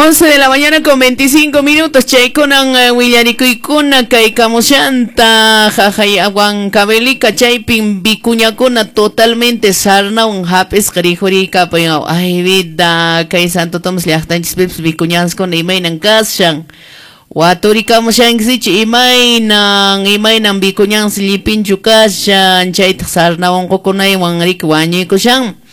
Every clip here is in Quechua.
11 de la mañana con 25 minutos, chaykunan willarikuykuna kay kamushanta jajay Huancavelica chaypin vicuñakuna totalmente sarnawan hap'isqa rikhuriykapuy. Ay vida, kay Santo Tomás llaqtanchispipas vicuñanskuna imaynan kashan. Waturikamushankichu imaynan vicuñansi llipinchu kashan, chaytaq sarna unqukunaywan riki wañuykushan.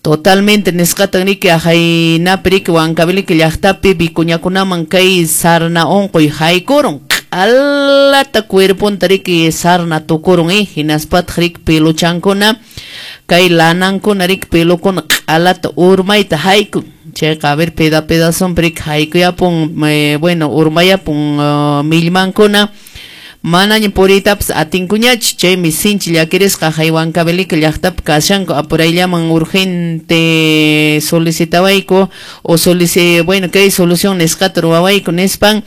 Totalmente nisqatan riki ajaynapi riki Huancavelica llaqtapi vicuñakunaman kay sarna unquy haykurun. Q'alata cuerponta riki sarna tukurun hinaspataq riki peluchankuna kay lanankuna riki pelukuna q'alata urmayta haykun. Chayqa a ver pedazonpi riki haykuyapun, bueno urmayapun millmankuna. Manaña puriytapas atinkuñachu, chaymi sinchi llakirisqa hay Huancavelica llaqtapi kashanku apurayllaman urgente solicitawayku o bueno kay solución nisqata ruwawayku nispan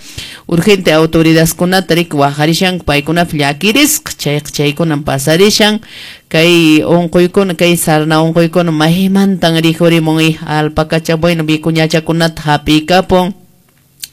urgente autoridadkunata riki waqarishanku paykunapi llakirisqa, chayqa chaykunan pasarishan kay unquykuna kay sarna unquykuna maymantan rikhurimun alpacacha bueno vicuñachakunata hap'iykapun.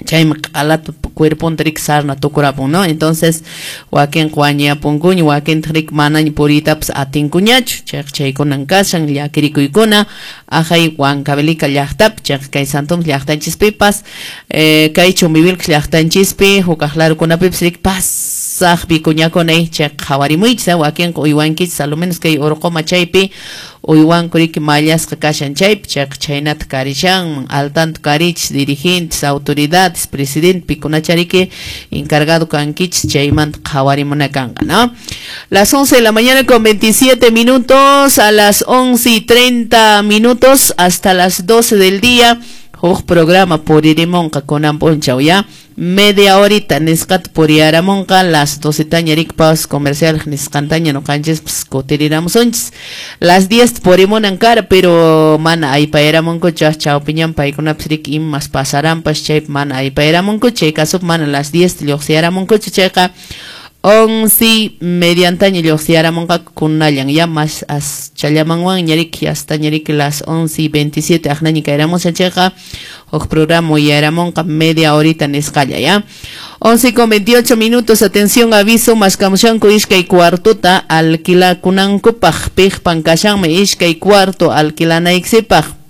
Chaymi q'alata cuerponta riki sarna tukurapun, ¿no? Entonces wakinqa wañuyapunkuña, wakintaq riki manaña puriytapas atinkuñachu. Chayqa chaykunan kashan llakirikuykuna ajay Huancavelica llaqtapi, chayqa kay Santo Tomás llaqtanchispipas, kay Chumbivilcas llaqtanchispi, hukaq larukunapipis riki pasaq vicuñakuna chayqa qhawarimuychis, wakinqa uywankichis, a lo menos kay Urquma chaypi uywanku riki mallasqa kashan chaypi, chayqa chaynata karishanman, al tanto karichis dirigentes, autoridades, presidente pikunachariki encargado kankichis chaymanta qhawarimuna kanqa, ¿no? Las 11 de la mañana con 27 minutos, a las 11:30 minutos hasta las 12 del día, huk programa puririmunqa kunan p'unchaw ya media horita nisqata puriyaramunqa las 12 taña riki paus comercial nisqantaña nuqanchispas kutiriramusunchis. Las 10 purimunan kara, pero mana aypayaramunkuchu, chawpiñan paykunapas riki imas pasaranpas chaypi mana aypayaramunkuchu, chay kasupi mana las 10 lluqsiyaramunkuchu, chayqa 11:30 lluqsiyaramunqaku kunallan ya mas aschallamanwanña riki hasta ña riki las 11:27 aqnaña kayramushan chayqa huk programa uyaramunqa media horita nisqalla ya. 11:28 minutos, atención, aviso, maskamushanku iskay cuartota alquilakunankupaq, piqpan kashanmi iskay cuarto alquilanaykipaq.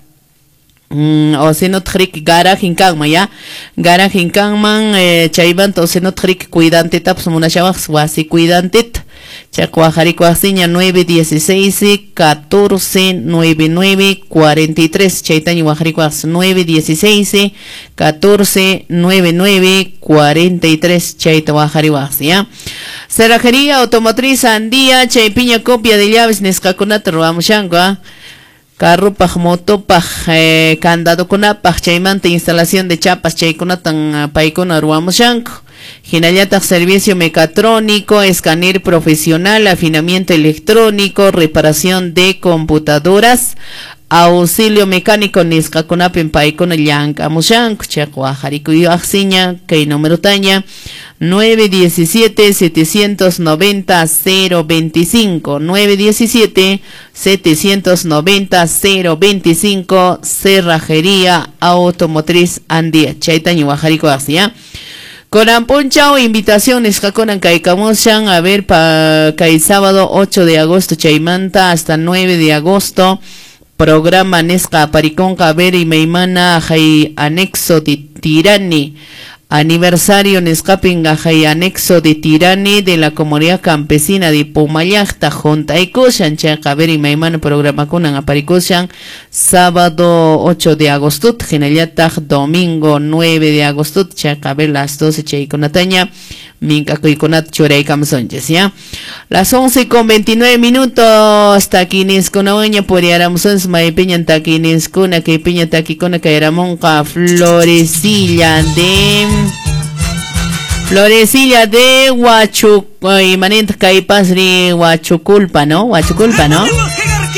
O si no trik garajin kanman ya, garajin kanman chaymanta o si no trik cuidantitapas munashawaq wasi cuidantita, chayqa waqharikuwaqsiña 916 14 99 43, chaytaña waqharikuwaqsi 916 14 99 43, chayta waqhariwaqsi ya. Cerrajería Automotriz Andía, chaypiña copia de llaves nisqakunata ruwamushanku, carrupaj, motopaj, candadokunapaj, chaymanta instalación de chapas chaykunatan paykuna ruwamushanku. Hinallataq servicio mecatrónico, escáner profesional, afinamiento electrónico, reparación de computadoras, auxilio mecánico nisqakunapin paykuna llank'amushanku. Chayqa waqharikuyaqsiña kay numerotaña 917 790 025, 917 790 025, Cerrajería Automotriz Andía, chaytaña waqharikuwaqsi ya. Kunan p'unchaw invitación nisqakunan kaykamushan, a ver pa kay sábado 8 de agosto chaymanta hasta 9 de agosto programa nisqa aparikunqa, a ver imaymana hay anexo de Tirani, aniversario nisqapin hay anexo de Tirani de la comunidad campesina de Pumallaqta juntaykushan, chayqa a ver imaymana programakunan aparikushan sábado 8 de agosto, hinallataq domingo 9 de agosto, chayqa a ver las 12 chaykunataña mink'akuykunata churaykamusunchis ya. Las 11:29 minutos, takiniskunawanña puriyaramusunchis, maypiñan takiniskuna, kaypiña takikuna kayramunqa Florecilla de Huachuc, imanintaq kaypasri Huachuculpa, ¿no? Huachuculpa, ¿no?